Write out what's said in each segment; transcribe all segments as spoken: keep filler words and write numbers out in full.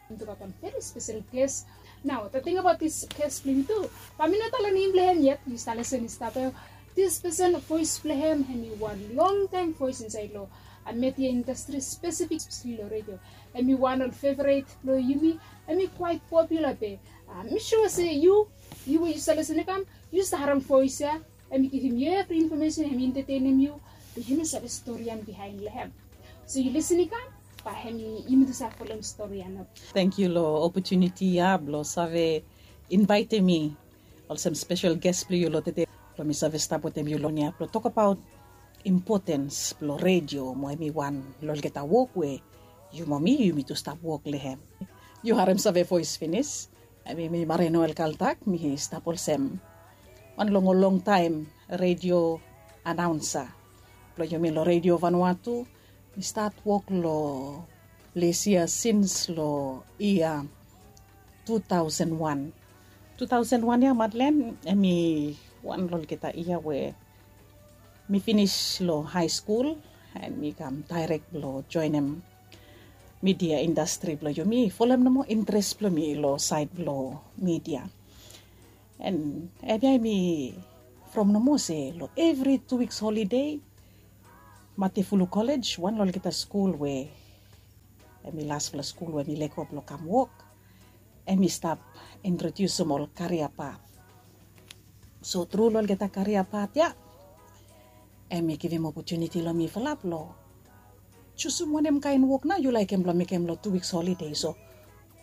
Yu gat wan very special guest. Nao, the thing about this guest blong yu tu, bae mi no talem nem blong hem yet, yu stap lesen, yu stap. This person, voes blong hem hemi wan longtaem voes insaed long media industry, specific long radio. Hemi wan ol favorit blong yumi. Hemi quite popular be mi sua se yu, yu we yu stap lesen i kam, yu stap harem voes ya. Hemi givim yu evri infomesen, hemi entetenem yu, be yu no save stori ya bihaen long hem. So yu lesen i kam, bae hemi, yumi tu save folem stori ya nao. Tangkiu long opotuniti ya blong save invaetem mi olsem spesel ges blong yu long tede, blong mi save stap wetem yu long ya blong tokbaot impotens blong redio mo hemi wan long olgeta wok we yu mo mi, yumi tu stap wok long hem. Yu harem save voes finis. Hemi mi Marie Noel Kaltak, mi stap olsem wan long ol longtaem redio anaonsa blong yumi long Redio Vanuatu. Mi stat wok long ples ya sins long yia tu taosen wan. Tu taosen wan ya, Madlen, hemi wan long olgeta yia we mi finis long hae skul, and mi kam daerek blong joenem media indastri blong yumi, folem nomo interes blong mi long saed blong media. And hemia mi from nomo se long evri tu wiks holide, Matefulu Kolej, wan long olgeta skul we hemi lasfala skul we mi lego blong kam wok, hemi stap introdiusim ol karia pat. So tru long olgeta karia pat ya, hemi givim opotuniti long mifala blong jusum wanem kaen wok nao yu laekem blong mekem long tu wiks holide. So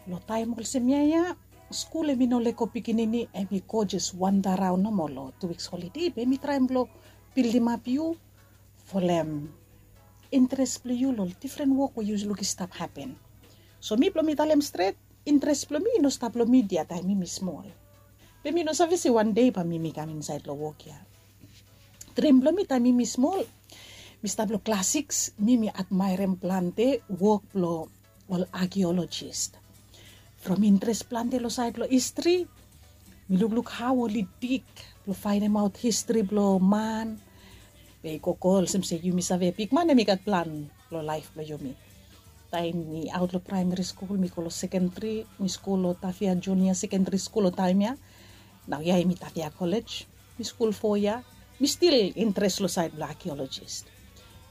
long taem olsem ya ya, skul hemi no lego pikinini, hemi go jes wanda raon nomo long tu wiks holide, be hemi traem blong bildimap yu folem interes blong yu long difren wok we yu luk i stap hapen. So mi blong mi talem stret, interes blong mi i no stap long media taem mi mi smol. Be mi no save se wan dei bae mi mi kam insaed long wok ya. Drim blong mi taem mi mi smol, mi stap long klas sikis, mi mi admaerem plante wok blong ol akeolojis. From interes plante long saed blong histri, mi lukluk hao oli dig blong faenemaot histri blong man. Be i gogo olsem se yumi save bigman hemi gat plan long laef blong yumi. Taem mi aot long praemari skul, mi go long sekendari, mi skul long Tafea Junia Sekendari Skul long taem ya. Naoia hemi Tafea Kolej. Mi skul fo yia, mi stil interes long saed blong akeolojis.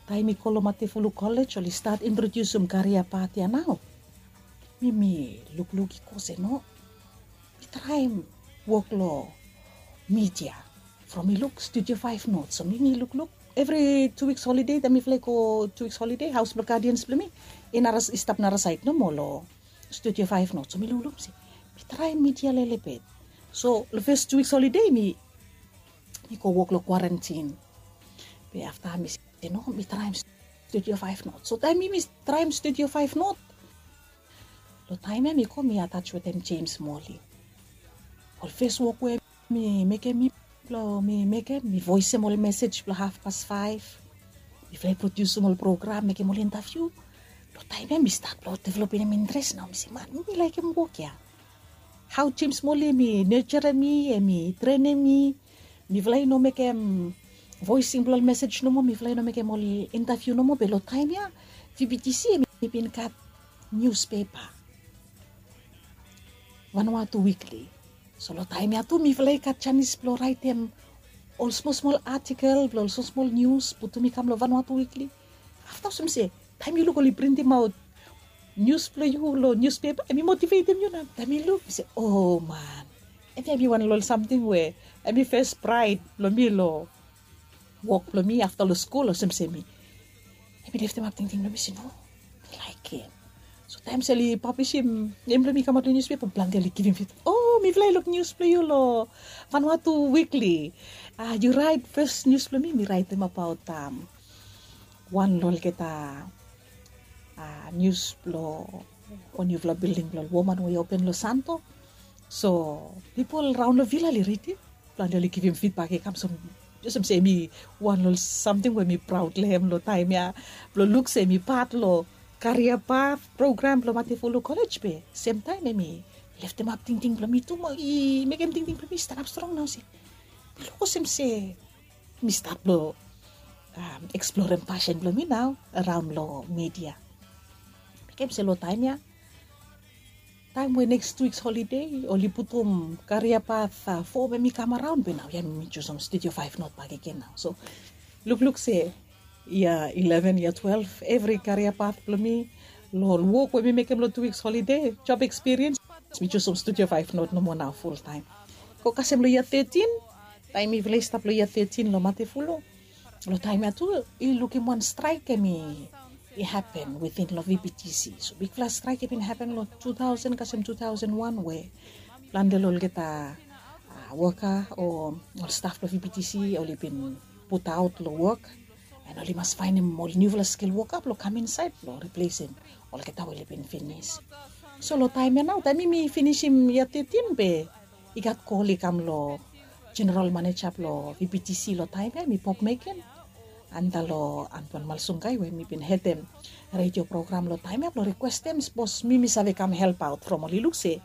Taem mi go long Matefulu Kolej, oli stat introdiusim karia pat ya nao, mi mi lukluk i go se no, mi traem wok long media. From mi luk Studio Five North, so mi mi lukluk evri tu wiks holide, taem mifala i go tu wiks holide, haos blong gadians blong mi i nara, i stap narasaed nomo long Studio Five North. So mi lukluk, mi se mi traem media lelebet. So long fes tu wiks holide mi mi go wok long kwarantin. Be afta mi se no, mi traem Studio Five North. So taem mi mi traem Studio Five North, long taem ya mi go mi ataj wetem Jems Moli. Ol fes wok we mi mekem, mi blong mi mekem, mi voesem ol mesej blong hafpas faef. Mifala i prodiusim ol program, mekem ol intaviu. Long taem ya mi stat blong developem interes nao, mi se man, mi laekem wok ya. Hao Jems Moli hemi nejerem mi, hemi trenem mi. Mifala i no mekem voesing blong ol mesej nomo, mifala i no mekem ol intaviu nomo, be long taem ya VBTC hemi bin gat niuspepa, Vanuatu Weekly. So long taem ya tu mifala i gat janis blong raetem ol smol smol atikol blong ol smol smol nius, putum i kam long Vanuatu Weekly. Afta olsem se taem yu luk oli printimaot nius blong yu long niuspepa, hemi motivetem yu nao. Taem mi luk mi se, o man, hemia hemi wan long ol samting we hemi fes praed blong mi long wok blong mi afta long skul, olsem se mi, hemi leftemap tingting blong mi se no, mi laekem. So taem se oli pablisim nem blong mi i kamaot long niuspepa, plante oli givim fidbak, o, mifala i luk nius blong yu long Vanuatu Weekly. A, yu raet fes nius blong mi, mi raetem abaot wan long olgeta nius blong wan niufala bilding blong ol woman we i open long Santo. So pipol raon long vila oli ridim, plante oli givim fidbak i kam. So olsem se hemi wan long ol samting we mi praod long hem long taem ya, blong luk se mi pat long karia pat program blong Matefulu Kolej, be semtaem hemi leftemap tingting blong mi tu mo i mekem tingting blong mi i stanap strong nao se mi luk olsem se mi stat blong eksplorem pasin blong mi nao araon long media. Mekem se long taem ya taem we neks tu wiks holide oli putum karia pat fo we mi kam araon be nao ya mi jusim studio faef not bakegen nao. So lukluk se yia ileven yia twelef evri karia pat blong mi long wok we mi mekem long tu wiks holide job ekspiriens, mi jusim studio faef not nomo nao fultaem. Go kasem long yia tetin taem mifala i stap long yia tetin long matefulu, long taem ya tu i lukim wan straek em i hapen witin long vptc. So bikfala straek i bin hapen long tu taosen kasem tu taosen wan we plante long olgeta woka o ol staf blong vptc oli bin putaot long wok, en oli mas faenem ol niufala skil woka blong kam insaed blong riplesem olgeta we oli bin finis. So long taem ya nao taem mi mi finisim yia tetin be i gat kol i kam long jeneral maneja blong vptc long taem ya em i pop meken, antap long antuan malsungai we mi bin hedem redio program long taem ya blong rikwestem sapos mi mi save kam helpaot from oli luk se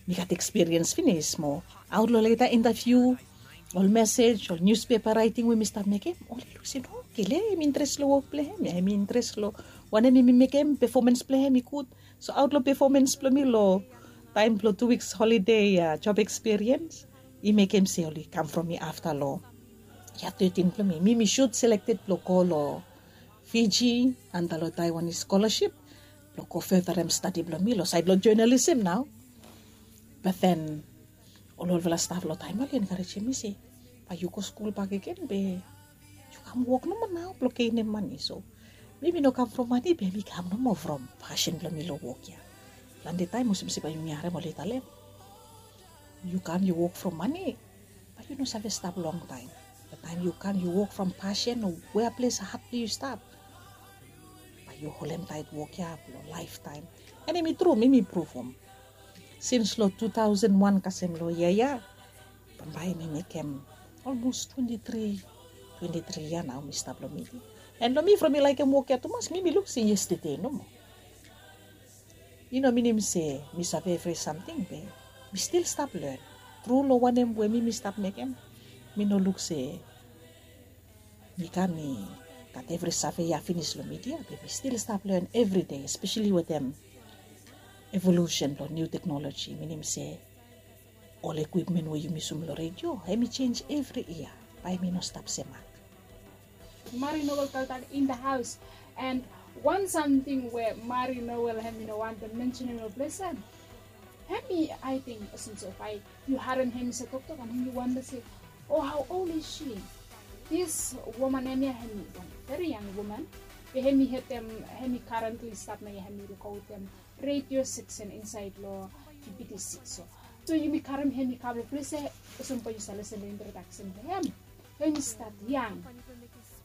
mi gat ekspiriens finis mo aot long leta intaviu, ol mesej, ol niuspepa raeting we mi stap mekem oli luk se no kele em interes long wok blong hem ya em interes long wanem em i mekem pefomens blong hem i gud. So aot long pefomens blong mi long taem blong tu wiks holide job ekspiriens i mekem se oli kam from mi afta long yia tetin blong mi mi mi sut selekted blong go long fiji antap long taiwan i skolaship blong go fedarem stadi blong mi long saed blong jonalisem nao. Baten ol olfala staf long taem ya oli enkarejem mi se bae yu go skul bakegen be yu kam wok nomo nao blong genem mane. So mi mi no kam from mane be mi kam nomo from pasin blong mi long wok ya. Plante taem olsem se bae yumi harem oli talem yu kam yu wok from mane bae yu no save stap longtaem. Be taem yu kam yu wok from pasin o wea ples hat blong yu stap bae yu holem taet wok ya blong laeftaem. En em i tru mi mi pruvum sins long tu taosen wan kasem long yia ya bambae mi mekem olmos twenti tri twenti tri yia nao mi stap long midia. En long mi from mi laekem wok ya tumas mi mi luk se yestede nomo. I no minim se mi save evri samting be mi stil stap len tru long wanem we mi mi stap mekem. Mi no luk se mi kam mi gat evri save ya finis long midia be mi stil stap len evride espeseli wetem evolusen blong niu teknoloji minim se ol ekwipmen we yumi yusum long redio hem i jenj evri yia. Bae mi no stap semak. Mari nowel kaltan in the haus. And wan samting we mari nowel hem i no wantem mensenem long ples ya hem i ating olsem se bae yu harem hem i se toktok and hem i wantem se o hao ol is shi. Dis woman hem ya hem i wan veri yang woman. Be hem i hetem hem i karentli stap na ya hem i lukaotem redio seksen insaed long pipiti sik so. So yumi karem hem i kam long ples ya olsem bae yu save lesen long introdaksen blong hem. Hem i stat yang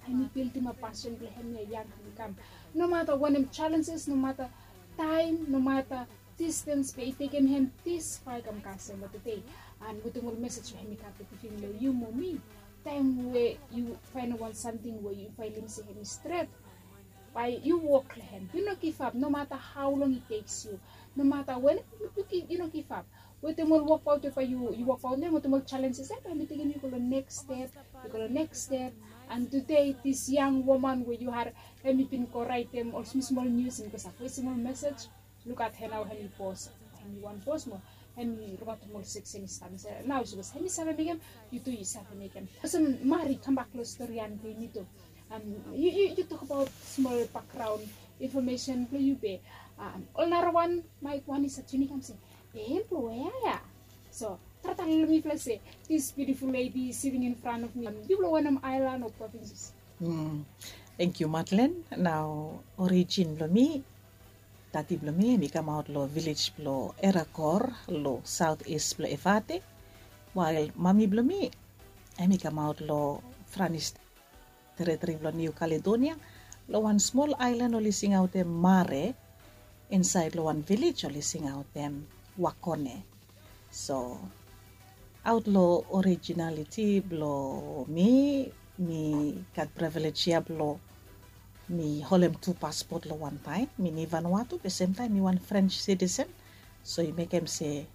hem i bildim a pasen blong hem ya yang hem i kam. Nomata wanem jalenjes nomata taem nomata distens be i tekem hem dis fae kam kasem long tede. And wetem ol mesej we hem i kam long givim long yu mo mi taem we yu faenem wan samting we yu faenem se hem i stret bae yu wok long hem yu no givap nomata hao long i teks yu. Nomata wanem yu no givap wetem ol wokbaot ya bae yu wokbaot long hem wetem ol jalenjes ya bae hem i tekem yu go long neks step. Yu go long neks step. And tude dis yang woman we yu harem hem i bin go raetem ol smosmol nius hem i go save wesim ol mesej. Lukaot hem nao hem i bos hem i wan bos mo hem i lukaotem ol seksen i stap insait nao sapos hem i save mekem yu tu yu save mekem. Olsem mari kambak long stori ya blong yumi tu yu tokabaot smol bakgraon infomesen blong yu be ol narawan maek wan i save tuning kam se be hem blong wea ya? So tara tale long mifala se dis biutiful ledi siting in fran of mi yufala wanem aelan o provinses? Tengkiu Matlen. Nao orijin blong mi, dadi blong mi hem i kamaot long vilej blong Erakor long saot is blong Evate, wael mami blong mi hem i kamaot long Franis teritri blong Niu Kaledonia, long wan smol aelan oli singaotem Mare, insaed long wan vilej oli singaotem Wakone. So aot long orijinaliti blong mi, mi gat privilej ya blong mi holem tu paspot long wantaem. Mi ni Vanuatu be semtaem mi wan French citizen. So i mekem se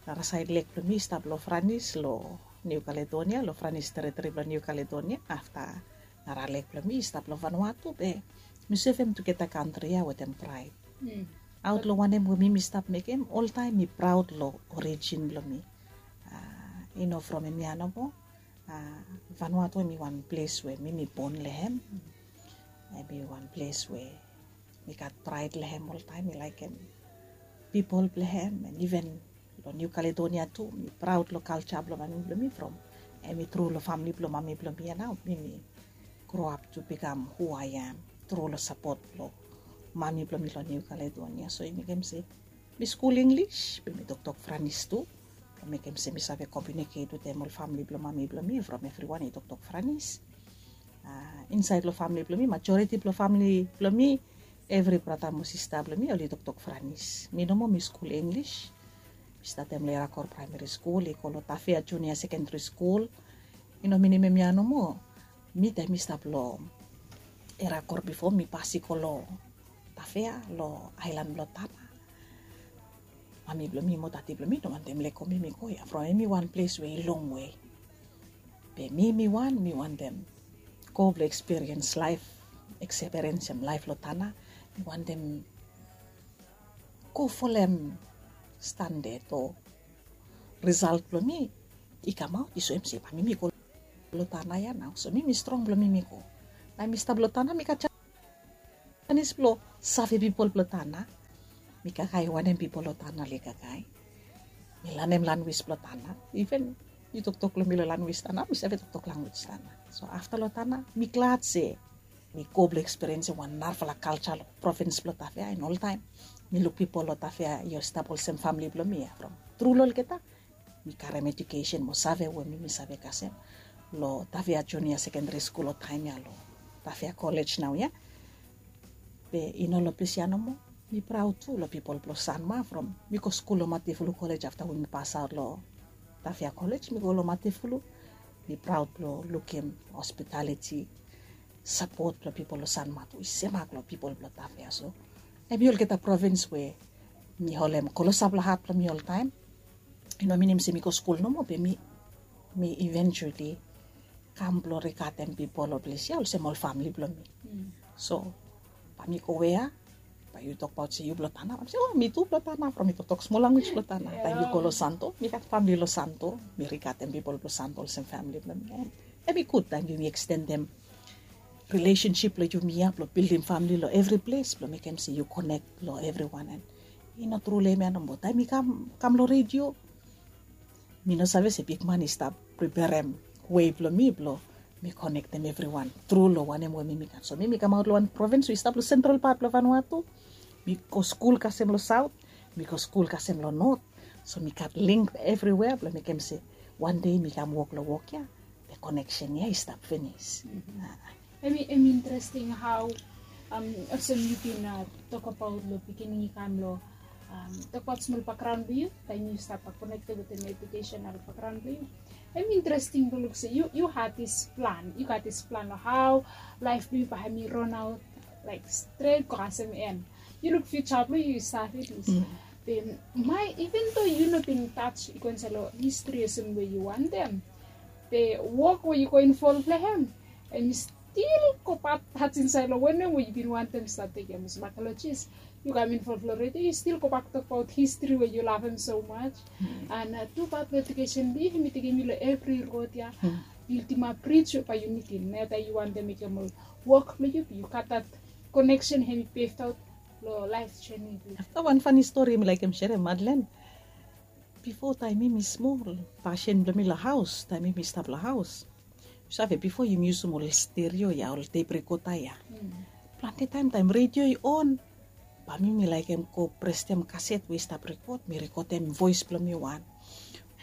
narasaed lek blong mi i stap long Franis long Niu Kaledonia, long Franis teritri blong Niu Kaledonia. Afta nara lek blong mi i stap long Vanuatu be mi sevem tugeta kantri ya wetem praed. Aot long wanem we mi mi stap mekem, oltaem mi praod long orijin blong mi. I no from hemia nomo. Vanuatu hemi wan ples we mi mi bon long hem. Hemi wan ples we mi gat praed long hem oltaem, mi laekem pipol blong hem, and iven long Niu Kaledonia tu mi praod long kalja blong mami blong mi from hemi tru long famle blong mami blong mi ya nao mi mi groap tu bikam hu ae am tru long sapot blong mami blong mi long Niu Kaledonia. So i mekem se mi skul Inglis be mi toktok Franis tu blong mekem se mi save komiuniket wetem ol famle blong mami blong mi from evriwan i toktok Franis. Insaed long famle blong mi, majoriti blong famle blong mi, evri brata mo sista blong mi oli toktok Franis. Mi nomo mi skul Inglis. Mi statem long Erakor Praemeri Skul i go long Tafea Junia Sekendri Skul. I no minim hemia nomo. Mi taem mi stap long Erakor bifo mi pas i go long Tafea long aelan blong Tana. Mami blong mi mo dadi blong mi no wantem lego mi mi go ya from hemi wan ples we i longwe. Be mi mi wan mi wantem go blong ekspiriens laef, ekspiriensem laef long Tana. Mi wantem go folem standad o risalt blong mi i kamaot i soem se bae mi mi go long Tana ya nao. So mi mi strong blong mi mi go. Taem mi stap long Tana mi gat janis blong save pipol blong Tana. Mi kakae wanem pipol long Tana oli kakae. Mi lanem lanwis blong Tana. Iven yu toktok long mi long lanwis Tana mi save toktok lanwis Tana. So afta long Tana mi glad se mi go blong ekspiriensim wan narafala kalja long provins blong Tafea. And oltaem mi luk pipol long Tafea i stap olsem famle blong mi ya from tru long olgeta. Mi karem ejukesen mo save we mi mi save kasem long Tafea Junia Sekendri Skul long taem ya long Tafea Kolej nao ya. Be i no long ples ya nomo. Mi praod tu long pipol blong Sanma from mi go skul long Matefulu Kolej afta we mi pasaot long Tafea Kolej mi go long Matefulu. Mi praod blong lukim hospitaliti sapot blong pipol long Sanma tu i semak long pipol blong Tafea. So hemi olgeta provins we mi holem klosap long hat blong mi oltaem. I no minim se mi go skul nomo be mi mi eventuali kam blong rigatem pipol long ples ya olsem ol famle blong mi. So bae mi go wea? Bae yu tokbaot se yu blong Tana? Bae mi se o mi tu blong Tana from mi toktok smol lanwis blong Tana. Taem yu go long Santo mi gat famle long Santo mi rigatem pipol blong Santo olsem famle blong mi. Hemi gud taem yumi ekstendem rilesensip blong yumi ya blong bildim famle long evri ples blong mekem se yu konek long evriwan. And i no tru long hemia nomo taem mi kam kam long redio mi no save se bigman i stap preperem wei blong mi blong mi konektem evriwan tru long wanem we mi mi gat. So mi mi kamaot long wan provins we i stap long sentral pat blong Vanuatu. Mi go skul kasem long saot, mi go skul kasem long not. So mi gat ling evriwea blong mekem se wan dei mi kam wok long wok ya, the connection ya i stap finis. Em i interesting hao olsem yu bin tokbaot long pikinini kam long tokbaot smol background blong yu taem yu stap konekted wetem educational background blong yu. Em i interesting blong luk se yu gat dis plan, yu gat dis plan long hao laef blong yu bae hem i ranaot laek stret go kasem en. Yu luk fiuja blong yu i save dis. Be mae even do yu no bin taj i go insaed long histri olsem we yu wantem, be wok we yu go involv long hem em i stil go pat taj insaed long wanem we yu bin wantem stap tekem olsem akolojis. Yu kam involv long redio yu stil gobak tokbaot histri we yu lavem so maj. An tu pat blong ejukesen blong yu hem i tekem yu long evri rod ya. Bildimap brij we bae yu mitim na ya taem yu wantem mekem ol wok blong yu be yu gat dat koneksen hem i beftaot long laef jeni blong yu. Afta wan fani stori mi laekem serem Madlen. Bifo taem mi mi smol, pasin blong mi long haos taem mi mi stap long haos. Yu save bifo yumi yusum ol sterio ya ol tep rekota ya. Plante taem taem redio i on, bae mi mi laekem go prestem kaset we i stap rekot mi rekotem voes blong mi wan.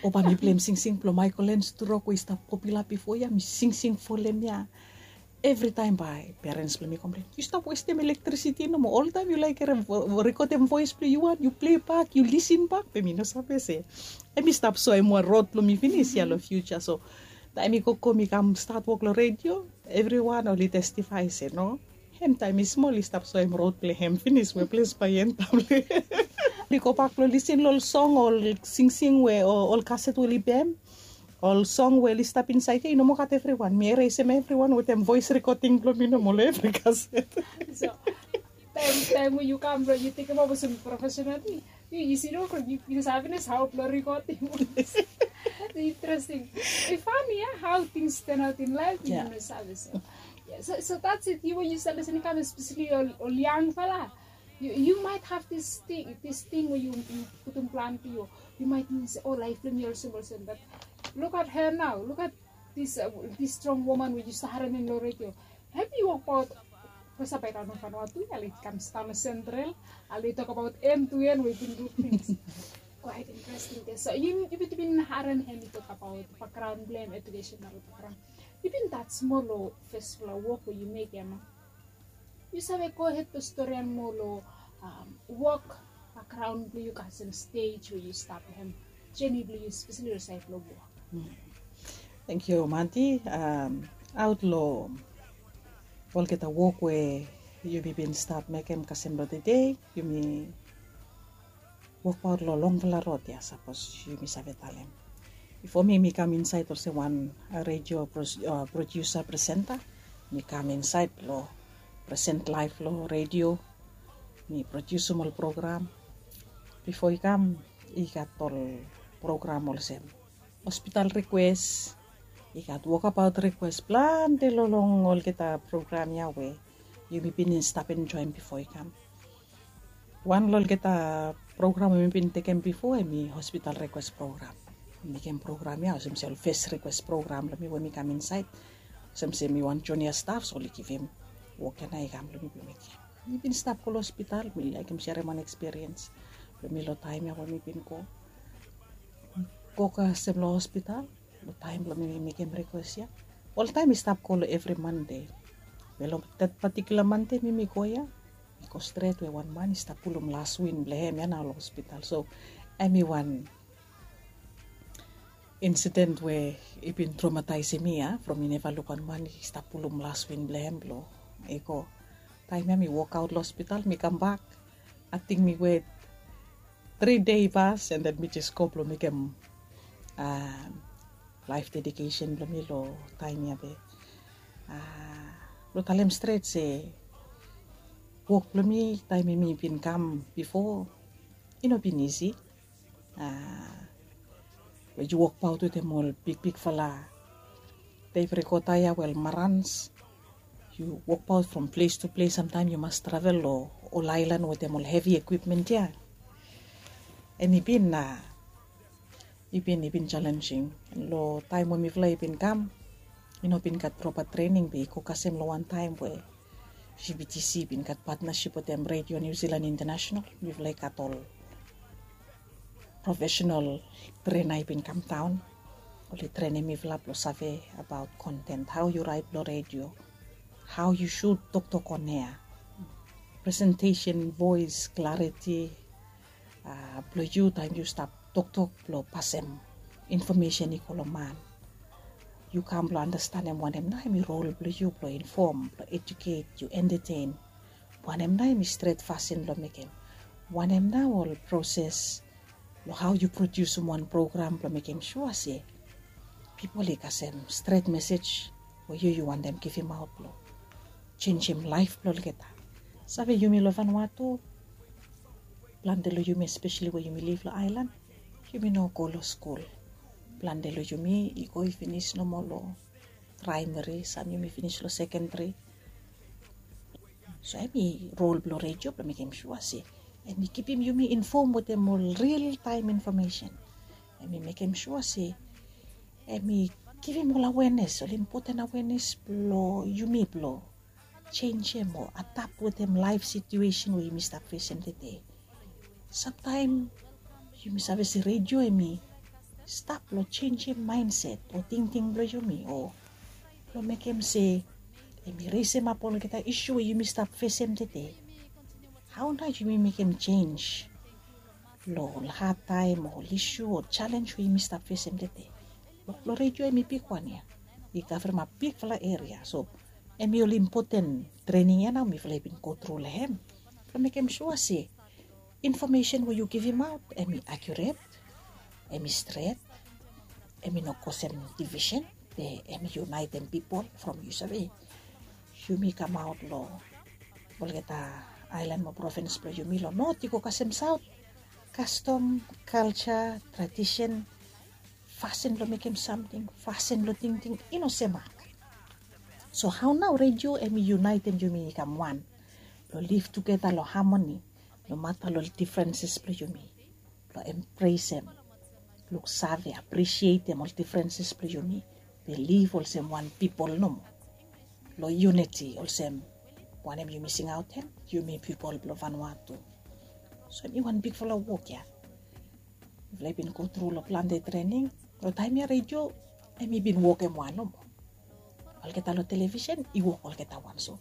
O bae mi pleim singsing blong Michael Lens Turok we i stap popula bifo ya mi singsing folem ya. Evritaem bae perens blong mi komplen yu stap westem elektrisiti nomo oltaem yu laek rekotem voes blong yu wan yu plei bak yu lisin bak be mi no save se em i stap soem wan rod blong mi finis ya long fiuja. So taem mi gogo mi kam stat wok long redio evriwan oli testifae se no, hem taem i smol i stap soem rod blong hem finis we ples bae i entam long hem. Oli gobak blong lisin long ol song ol singsing we ol kaset we oli bem ol song we oli stap insaed ya i no moa gat evriwan mi eresem evriwan wetem voes rekoting blong mi nomo long evri kaset. Taem we yu kam blong yu tekem ova olsem profesional ting, yu isi no from yu save nes hao blong rekotim. Interesting. I fani ya hao tings ten aut in laef yu no save so. So that's it, yu we yu save olsem i kam especially ol yangfala. Yu might have this thing we yu putum plan blong yu. Yu might ting se o laef blong mi olsem olsem, but look at her now, look at this strong woman we yu stap harem long redio. Hem i wokbaot. Bikos bae daon long Vanuatu ya, oli kam stap long Central, oli tokbaot hem tu hem we i bin du tings. Quite interesting. So yu bin harem hem i tokbaot bakgraon blong hem, educational bakgraon. Yu bin stat smol long fesfala wok we yu mekem. Yu save gohed blong storian moa long wok bakgraon blong yu kasem stej we yu stap long hem, jeni blong yu spesali long saed blong wok. Tangkiu Manti. Aot long olgeta wok we yumi bin stap mekem kasem long tede, yumi wokbaot long longfala rod ya, sapos yumi save talem. Bifo mi mi kam insaed olsem wan redio prodiusa, presenta, mi kam insaed blong presen laef long redio. Mi prodiusim ol program. Bifo i kam i gat ol program olsem hospital rikwes, i gat wokabaot rikwes, plante long olgeta program ya we yumi bin stap enjoem bifo i kam. Wan long olgeta program we mi bin tekem bifo hem i hospital rikwes program. Mi mekem program ya olsem se ol fes rikwes program blong mi we mi kam insaed. Olsem se mi wan junia staf, so oli givim wok ya nao i kam blong mi blong mekem. Mi bin stap go long hospital, mi laekem serem wan ekspiriens blong mi long taem ya we mi bin go. Go kasem long hospital long taem blong mi mekem rikwes ya. Oltaem mi stap go long evri Mande. Be long that patikula Mande mi mi go ya, mi go stret we wan man i stap pulum las win blong hem ya nao long hospital. So hem i wan insiden we i bin tromataesem mi ya from mi neva luk wan man i stap pulum las win blong hem blong i go. Taem ya mi wokaot long hospital, mi kambak. Ating mi wet tri dei i pas, and then mi jes go blong mekem laef dedikesen blong mi long taem ya be. Blong talem stret se wok blong mi taem mi bin kam bifo i no bin isi. Blong yu wokbaot wetem ol bigbigfala tep rekota ya, we ol marans. Yu wokbaot from ples tu ples, samtaem yu mas travel long ol aelan wetem ol hevi ekwipmen ya. Hem i bin, i bin, i bin jalenjing. Long taem we mifala i bin kam, i no bin gat propa trening, be i go kasem long wan taem we GBTC i bin gat patnasip wetem Radio New Zealand International. Mifala i gat ol profesenal trena i bin kamdaon. Oli trenem mifala blong save abaot konten, hao yu raet long redio, hao yu sud toktok on ea, presentesen, voes klariti blong yu taem yu stap toktok blong pasem infomesen i go long man. Yu kam blong andastanem wanem nao hem i rol blong yu blong infom, blong ejuket, yu entetein. Wanem nao hem i stret fasin blong mekem. Wanem nao ol proses blong hao yu prodiusim wan program blong mekem sua se pipol i kasem stret mesej we yu yu wantem givimaot blong jenjem laef blong olgeta. Save yumi long Vanuatu, plante long yumi espeseli we yumi liv long aelan, yumi no go long skul. Plante long yumi i go i finis nomo long praemeri, sam yumi finis long sekenderi. So hem i rol blong redio blong mekem sua se hem i kipim yumi infom wetem ol riltaem infomesen. Hem i mekem sua se hem i givim ol awenes, ol impoten awenes blong yumi blong jenjem o adap wetem laef situesen we yumi stap fesem tede. Samtaem yumi save se redio hem i stap long jenjem maenset o tingting blong yumi, o blong mekem se hem i resemap olgeta isu we yumi stap fesem tede. Hao nao yumi mekem jenj long ol hadtaem o ol isu o jalenj we yumi stap fesem tede? Wok blong redio hem i bigwan ya, i kavremap bigfala eria. So hem i ol impoten trening ya nao mifala i bin gotru long hem blong mekem sua se infomesen we yu givimaot hem i akiuret, hem i stret, hem i no kosem divisen, be hem i yunaetem pipol from, yu save, yumi kamaot long olgeta aelan mo provins blong yumi long not i go kasem saot. Kastom, kalja, tradisen, fasin blong mekem samting, fasin blong tingting i no semak. So hao nao redio em i yunaetem yumi i kam wan blong liv tugeta long hamoni, nomata long difrenses blong yumi, blong empresem, luksave, apresietem ol difrenses blong yumi, be liv olsem wan pipol nomo long yuniti olsem wanem yumi singaotem, yumi pipol blong Vanuatu. So em i wan bigfala wok ya. Mifala i bin go tru long plante trening. Long taem ya redio em i bin wokem wan nomo. Olgeta long televisen i wok olgeta wan. So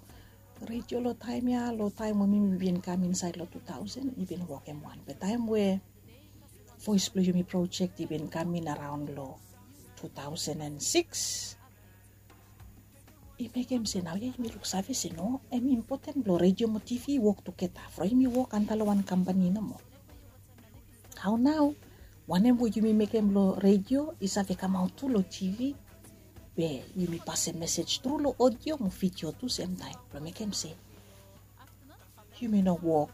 redio long taem ya, long taem we mi bin kam insaed long tu taosen, i bin wokem wan. Be taem we voes blong yumi projek i bin kam in araon long tu taosen en sikis, i mekem se naoia yumi luksave se no, em i impoten blong redio mo tivi i wok tugeta from yumi wok antap long wan kampani nomo. Hao nao wanem we yumi mekem long redio i save kamaot tu long tivi, be yumi pasem mesej tru long odio mo vidio tu semtaem blong mekem se yumi no wok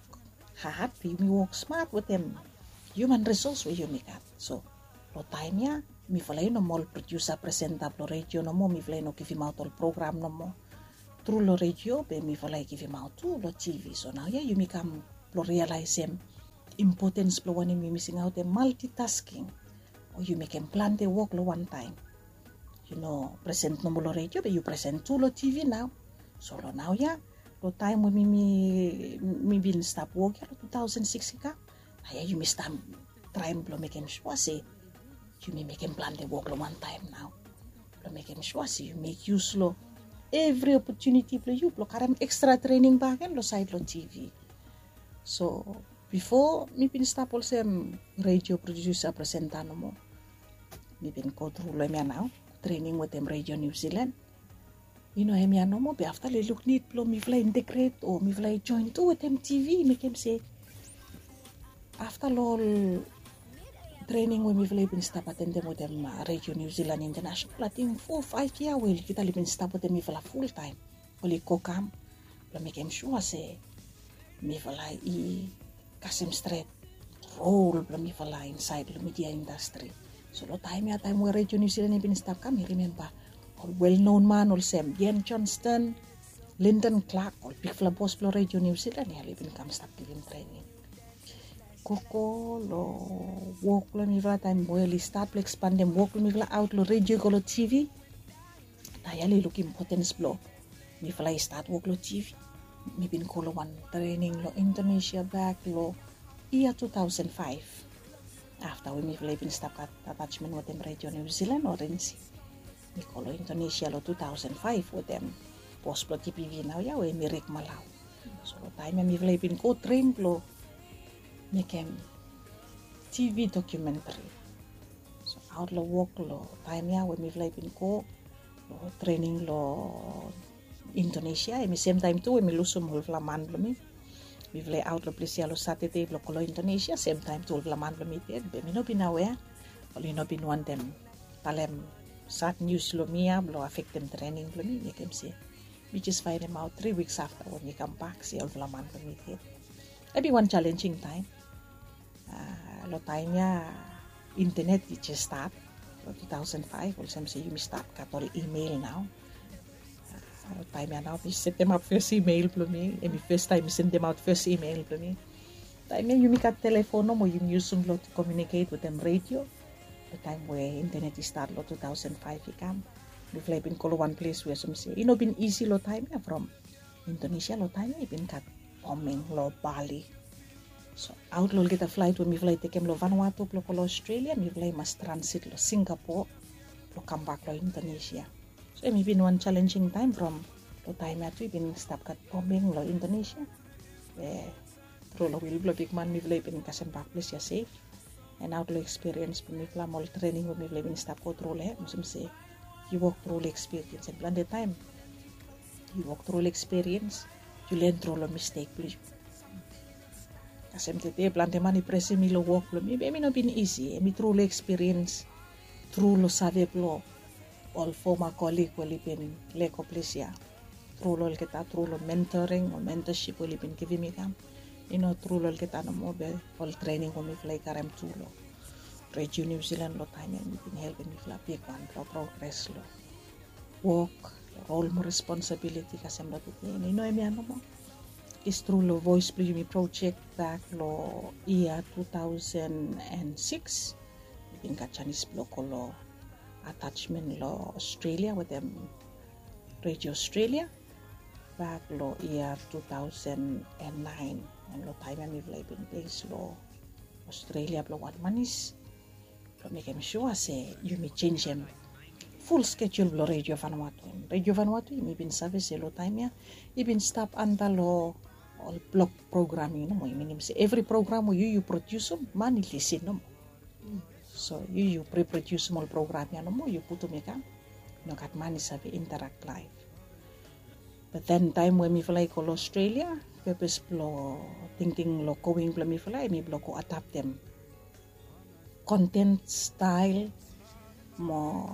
had, be yumi wok smat wetem hiuman risos we yumi gat. So long taem ya mifala i no moa ol prodiusa, presenta blong redio nomo, mifala i no givimaot ol program nomo tru long redio, be mifala i givimaot tu long tivi. So naoia yumi kam blong rialaesem impotens blong wanem yumi singaotem maltitasking, o yu mekem plante wok long wantaem. Yu no present nomo long redio, be yu present tu long tivi nao. So long naoia, long taem we mi, mi, mi bin stap wok ya long tu taosen sikis i kam, naoia yumi stap traem blong mekem sua se yumi mekem plante wok long wantaem nao, blong mekem sua se yu mek yus long evri opotuniti blong yu blong karem ekstra trening bakegen long saed long tivi. So bifo mi bin stap olsem redio prodiusa, presenta nomo. Mi bin go tru long hemia nao, trening wetem Redio Niu Silan. I no hemia nomo, be afta long i luk nid blong mifala i integret o mifala i joen tu wetem tivi, i mekem se afta long ol trening we mifala i bin stap atendem wetem Redio Niu Silan Intanasenal, ating fo faef yia we olgeta oli bin stap wetem mifala fultaem, oli go kam blong mekem sua se mifala i kasem stret rol blong mifala insaed long midia indastri. So long taem ya, taem we Redio Niu Silan i bin stap kam, mi rimemba ol welnon man olsem Ian Johnston, Lyndon Clark, ol bigfala bos blong Redio Niu Silan ya oli bin kam stap givim trening. Gogo long wok blong mifala taem we oli stat blong ekspandem wok blong mifala aot long redio i go long tivi. Naoia oli luk impotens blong mifala i stat wok long tivi. Mi bin go long wan trening long Indonesia bak long yia tu taosen faef. Afta we mifala i bin stap gat atasmen wetem Redio Niu Silan o RNC, mi go long Indonesia long tu taosen faef wetem bos blong TPV naoia we hemi Rick Malau. So long taem ya mifala i bin go tren blong mekem tivi dokumentri. So aot long wok long taem ya we mifala i bin go long trening long Indonesia, hemi semtaem tu we mi lusum olfala man blong mi. Mifala i aot long ples ya long Satade blong go long Indonesia, semtaem tu olfala man blong mi ded, be mi no bin awea. Oli no bin wantem talem sad nius long mi ya blong afektem trening blong mi, mekem se mi jes faenemaot tri wiks afta we mi kambak se olfala man blong mi ded. Hemi wan jalenjing taem. Long taem ya intenet i jes stat long tu taosen faef, olsem se yumi stat gat ol imel nao. Long taem ya nao mi setemap fes imel blong mi, hemi fes taem mi sendemaot fes imel blong mi. Taem ya yumi gat telefon nomo yumi yusum blong komiuniket wetem redio. Long taem we intenet i stat long tu taosen faef i kam, mifala i bin go long wan ples we olsem se i no bin isi long taem ya from Indonesia long taem ya i bin gat bombing long Bali. So aot long olgeta flaet we mifala i tekem long Vanuatu blong go long Australia, mifala i mas transit long Singapore blong kambak long Indonesia. So hemi bin wan jalenjing taem from long taem ya tu i bin stap gat bombing long Indonesia. Be tru long wil blong bigman mifala i bin kasem bak ples ya sef. And aot long ekspiriens blong mifala mo ol trening we mifala i bin stap go tru long hem, olsem se yu wok tru long ekspiriens, and plante taem yu wok tru long ekspiriens, yu len tru long mistek blong yu. Kasem tede plante man i presem mi long wok blong mi, be hemi no bin isi. Hemi tru long ekspiriens, tru long save blong ol foma kolig we oli bin lego ples ya. tru long olgeta, tru long mentoring o mentorship we oli bin givim mi kam. I no tru long olgeta nomo be ol trening we mifala i karem tu long Redio New Zealand long taem ya mi bin helpim mifala bigwan blong progres long wok, rol mo responsibiliti kasem long tete. I no hemia nomo. Is tru long voes blong yumi projek bak long yia two thousand and six, mi bin gat janis blong go long atasmen long Australia wetem Radio Australia bak long yia two thousand and nine. Em long taem ya mifala i bin bes long Australia blong wan manis blong mekem sua se yumi jenisim ful skejul blong Radio Vanuatu. Em Radio Vanuatu yumi bin save se long taem ya i bin stap anta long ol blok programming nomo, i minim se evri program we yu yu prodiusim man i lisin nomo. So yu yu pre prodiusim ol program ya nomo yu putum i kam, i no gat man i save interak laef. Be then taem we mifala i go long Australia, pepes blong tingting long going blong mifala em i blong go adaptem konten stael mo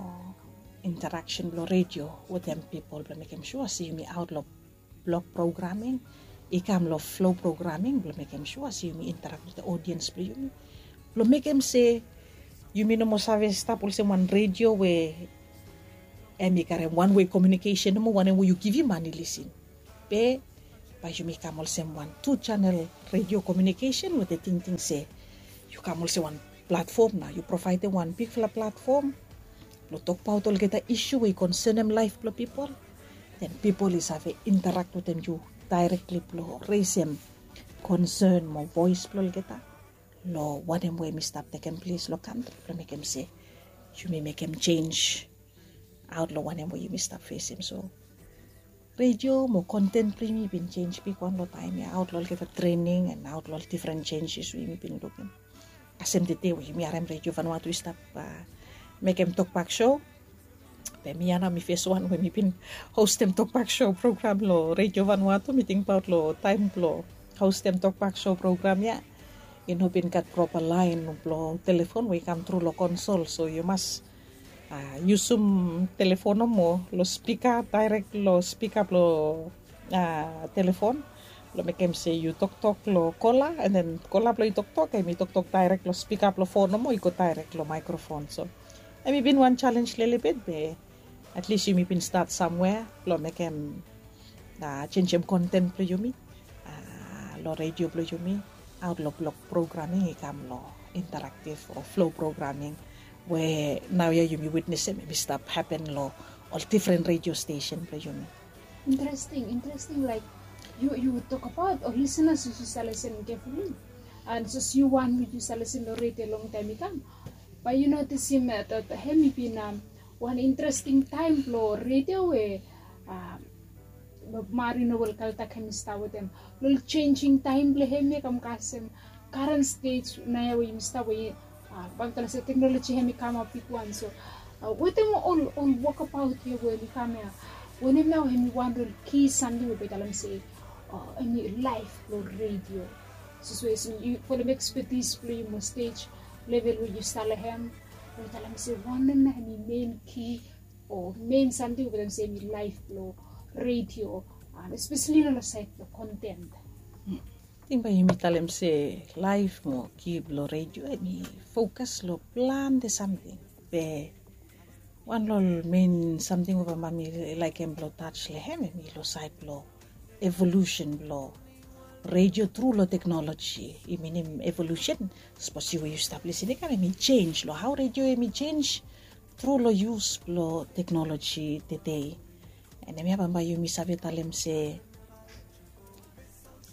interaksen blong redio wetem pipol blong mekem sua se yumi aot long blok programming i kam long flo programming blong mekem sua se yumi interak wetem odiens blong yumi blong mekem se yumi no moa save stap olsem wan redio we em i karem wan wei komiunikesen nomo, wanem we yu givim man i lisin. Be bae yumi kam olsem wan tu janel redio komiunikesen wetem tingting se yu kam olsem wan platfom, nao yu provaedem wan bigfala platfom blong tokbaot olgeta isu we i konsenem laef blong pipol. Den pipol i save interak wetem yu daerekli blong resem konsen mo voes blong olgeta long wanem we mi stap tekem ples long kantri blong mekem se yumi mekem jenj aot long wanem we yumi stap fesem. So redio mo konten blong yumi i bin jenj bigwan long taem ya aot long olgeta trening en aot long ol difren jenjes we yumi bin lukim. Kasem tede we yumi harem redio Vanuatu i stap mekem tokbak sou. Be mi ya nao mi feswan we mi bin hostem tokbak sou program long redio Vanuatu. Mi tingbaot long taem blong hostem tokbak sou program ya i no bin gat propa laen blong telefon we i kam tru long konsol, so yu mas yusum telefon nomo long spika, daerek long spika blong telefon blong mekem se yu toktok long kola, en den kola blong yu toktok em i toktok daerek long spika blong fon nomo i go daerek long maekrofon. So em i bin wan jalenj lelebet be atlis yumi bin stat samwea blong mekem jenjem konten blong yumi long redio blong yumi aot long blok programming i kam long interaktiv o flo programming we naoia yumi witnesem em i stap hapen long ol difren redio stesen blong yumi. Interesting, interesting. Like yu yu tokabaot ol lisenas yu save lisen kefuli, and sos yu wan yu save lisen long redio longtaem i kam, bae yu notisim dat hem i bin wan interesting taem blong redio we mari nobel kaltak hem i stap wetem long jenjing taem blong hem ya kam kasem karen stej naoia we yumi stap we bae mi talem se teknoloji hem i kamap bigwan. So wetem ol ol wokabaot ya we hem i kam ya, wanem nao hem i wan long ki samting we bae talem se em i laef blong redio? Sos we olsem yu folem ekspetis blong yu mo stej level we yu stap long hem, we talem se wanem nao hem i men ki o men samting we bae talem se em i laef blong redio, espeseli long saed blong konten? Ting bae yumi talem se laef mo ki blong redio em i fokas long plante samting. Be wan long ol men samting we bambae mi laekem blong taj long hem em i long saed blong evolusen blong redio tru long teknoloji. I minim evolusen, sapos yu we yu stap lisin i kam em i jenj long hao redio em i jenj tru long yus blong teknoloji tede. En hemia bambae yumi save talem se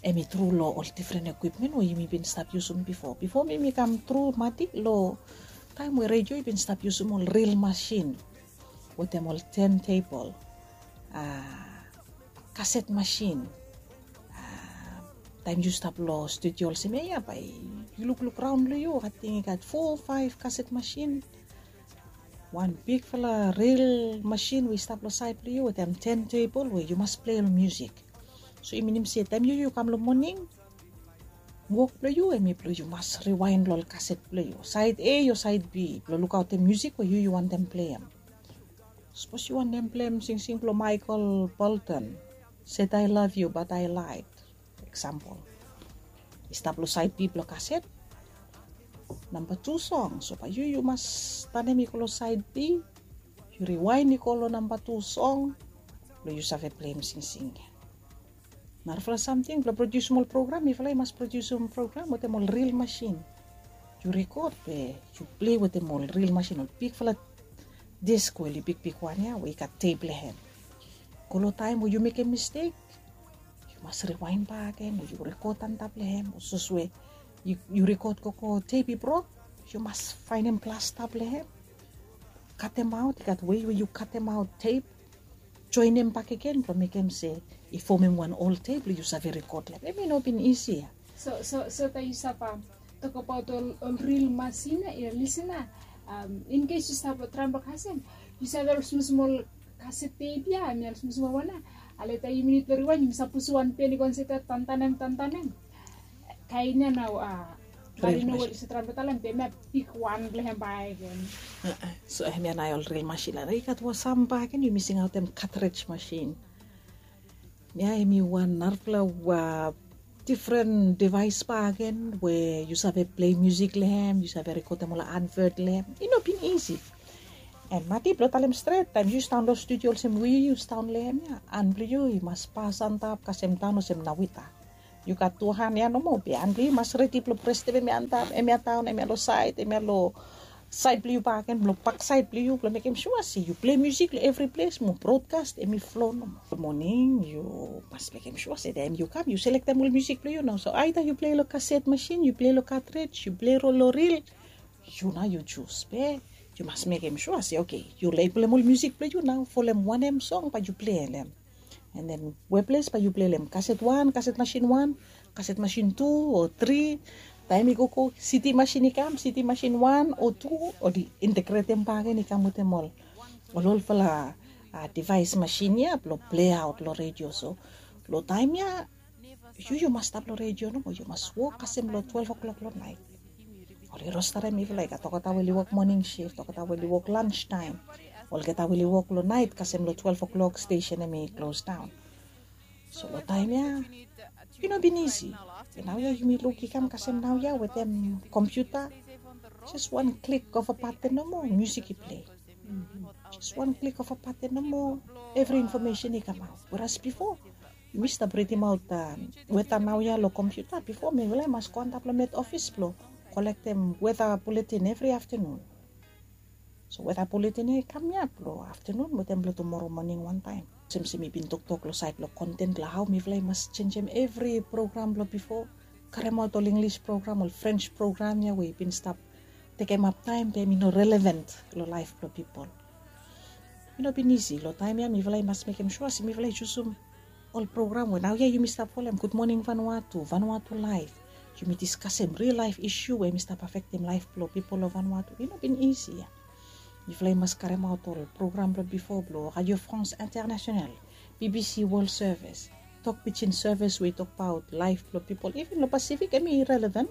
em i tru long ol difren ekwipmen we yumi bin stap yusum bifo. Bifo mi mi kam tru mati long taem we redio i bin stap yusum ol ril masin wetem ol tentebol, kaset masin. Taem yu stap long studio olsem ya ya bae yu lukluk raon long yu ating i gat fo faef kaset masin. Wan bigfala ril masin we i stap long saed blong yu wetem tentebol we yu mas plei ol musik. So i minim se taem yu yu kam long moning, wok blong yu em i blong yu mas riwaen long ol kaset blong yu, saed A o saed B, blong lukaotem musik we yu yu wantem pleim. Sapos yu wantem pleim singsing blong Michael Bolton, Said I love you but I lied. Eksampol, i stap long saed B blong kaset. Namba tu song, so bae yu yu mas tanem i go long saed B. Yu riwaen i go long namba tu song blong yu save pleim singsing gen. Narafala samting blong prodiusim ol program, mifala i mas prodiusim program wetem ol ril masin. Yu rekod be yu plei wetem ol ril masin, ol bigfala disk we oli bigbigwan ya we i gat tep long hem. Go long taem we yu mekem mistek, yu mas riwaen bakegen o yu rekod antap long hem, o sapos we yu rekod gogo tep i brok, yu mas faenem plasta blong hem, katemaot, i gat wei we yu katemaot tep, joenem bakegen blong mekem se i fomem wan ol tep blong yu save rekod long hem. Hemi no bin isi ya. So so so taem yu stap tokbaot ol ril masin ya, yu lisin ya, in kes yu stap long traem blong kasem, yu save ol smosmol kaset tep ya, hemi ol smosmol wan ya. Ale taem yumi nid blong riwaen, yumi stap pusim wan pen i go insait ya, tantanem tantanem. Kaen ya nao a, bae yu no we yu save traem blong talem be hemia bigwan blong hem bakegen. So hemia nao ol ril masin ya. I gat wan sam bakegen yumi singaotem katrej masin. Ya hemi wan narafala difren divaes bakegen we yu save plei musik long hem, yu save rekodem ol advert long hem. I no bin isi. An Mati, blong talem stret, taem yu sidaon long studio olsem we yu sidaon long hem ya, an blong yu i mas pas antap kasem daon olsem nawita. Yu gat tu han ya nomo be han blong yu i mas redi blong prestem hemia antap, hemia daon, hemia long saed, hemia long saed blong yu bakegen, blong baksaed blong yu, blong mekem sua se yu plei musik long evri ples mo brodkas hemi flo nomo. Moning yu mas mekem sua se taem yu kam yu selektem ol musik blong yu nao. So aeda yu plei long kaset masin, yu plei long katrej, yu plei long ril, yu nao yu jus be yu mas mekem sua se oke, yu labelem ol musik blong yu nao, folem wanem song bae yu plei long hem. An den we ples bae yu plei long hem, kaset wan, kaset masin wan, kaset masin tu o tri. Taem i gogo, CD masin i kam, CD masin wan o tu, oli integretem bakegen i kam wetem ol olfala divaes masin ya blong pleaot long redio. So long taem ya yu yu mas stap long redio nomo, yu mas wok kasem long twelef o'klok long naet. Oli rostarem mifala, i gat olgeta we oli wok moning sif, olgeta we oli wok lans taem, olgeta we oli wok long naet kasem long twelef o'klok stesen hemi klos daon. So long taem ya i no bin isi. Be naoia yumi luk i kam kasem naoia wetem kompiuta. Jes wan klik of a baten nomo, musik i plei. Jes wan klik of a baten nomo, evri infomesen i kamaot. Weras bifo yumi stap ridimaot weta naoia long kompiuta. Bifo mifala i mas go antap long met ofis blong kolektem weta buletin evri aftanun. So weta buletin ya i kam ya blong aftanun wetem blong tumoro moning wantaem. Olsem se mi bin toktok long saed blong konten blong hao mifala i mas jenisim evri program blong bifo, karemaot ol Inglis program, ol Frens program ya we i bin stap tekemap taem be hemi no relevan long laef blong pipol. I no bin isi. Long taem ya mifala i mas mekem sua se mifala i jusum ol program we naoia yumi stap folem, Gud Moning Vanuatu, Vanuatu Laef. Yumi diskasem ril laef isu we hemi stap afektem laef blong pipol long Vanuatu. I no bin isi ya. Mifala i mas karemaot ol program blong bifo blong Radio France Internationale, BBC World Service, Tok Pidgin Service we i tokbaot laef blong pipol. Iven long Pasifik hemi relevan.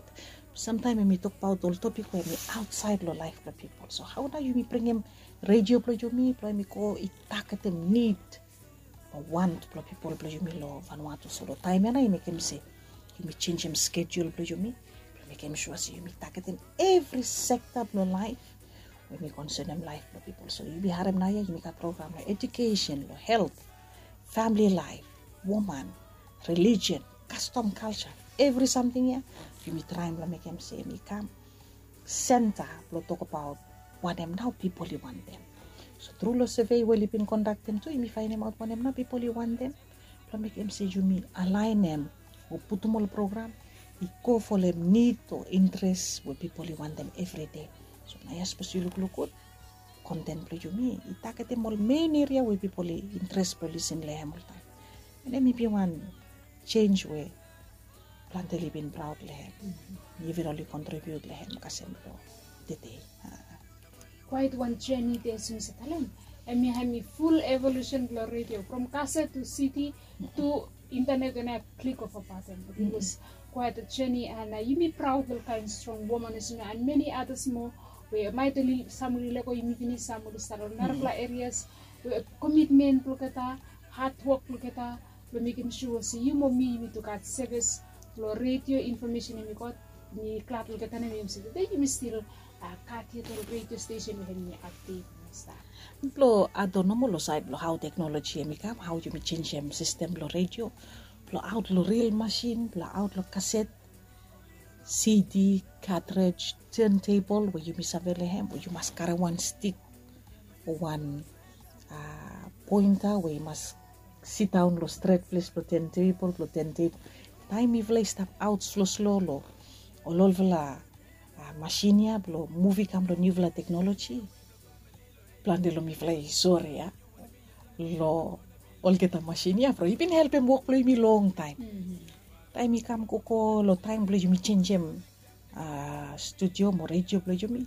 Samtaem hemi tokbaot ol topik we hemi aotsaed long laef blong pipol. So hao nao yumi bringim redio blong yumi blong hemi go i tagetem nid o want blong pipol blong yumi long Vanuatu? So long taem ya nao i mekem se yumi jenisim skejul blong yumi blong mekem sua se yumi tagetem evri sekta blong laef we hemi konsenem laef blong pipol. So yumi harem naoia yumi gat program long ejukesen, long helt, famili laef, woman, relijion, kastom, kalja, evri samting ya yumi traem blong mekem se hemi kam senta blong tokbaot wanem nao pipol i wantem. So tru long sevei we oli bin kondaktem tu yumi faenemaot wanem nao pipol i wantem blong mekem se yumi alaenem o putum ol program i go folem nid o interes we pipol i wantem evri dei. So naoia sapos yu lukluk gud, konten blong yumi i tagetem ol men eria we pipol i interes blong lisin long hem oltaem. An hemi bin wan jenis we plante oli bin praod long hem. Mi even oli kontribiut long hem kasem blong tede. Kwaet wan jeni de, as yumi save talem, hemia hemi ful evolusen blong redio from kaset tu CD tu intanet, and a klik of a baten. It was quite a journey, and yumi praod long ol kaen strong woman as you know, and many others moa we maet oli, sam oli lego yumi finis, sam oli stap long narafala erias we komitmen blong olgeta, hadwok blong olgeta, Blong mekem sua se yu mo mi yumi tu gat sevis blong redio infomesen yumi gat. Mi glad olgeta nem yumi se tude yumi stil gat yet ol redio stesen we hemi apdet. Blong ato nomo long saed blong hao teknoloji hemi kam, hao yumi jenjem sistem blong redio blong aot long ril masin blong aot long kaset, sidi, katrej, tentebol we yumi save long hem we yu mas karem wan stik o wan pointa we i mas sidaon long stret ples blong tentebol blong tentebol. Taem mifala i stap aot sloslo long ol olfala masin ya blong muv i kam long niufala teknoloji, plante long mifala i sore ya long olgeta masin ya from i bin helpem wok blong yumi longtaem. Taem i kam gogo long taem blong yumi jenjem studio mo redio blong yumi,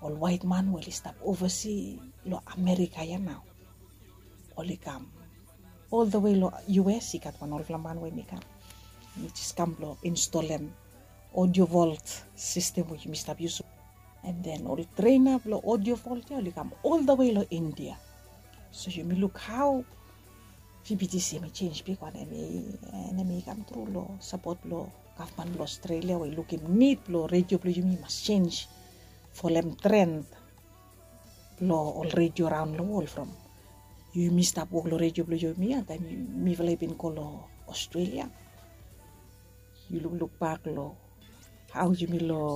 ol waet man we oli stap ovasi long Amerika ya nao oli kam oldawe long U S. I gat wan olfala man we mi kam, mi jes kam blong instolem audio vault sistem we yumi stap yusum. And then ol trena blong audio vault ya oli kam oldawe long India. So yumi luk hao V B T C hemi jenj bigwan, hemi kam tru long sapot blong gavman blong Australia we i lukim nid blong redio blong yumi i mas jenj folem tren blong ol redio raon long wol from yumi stap wok long redio blong yumi ya taem mifala i bin go long Australia. Yu lukluk bak long hao yumi long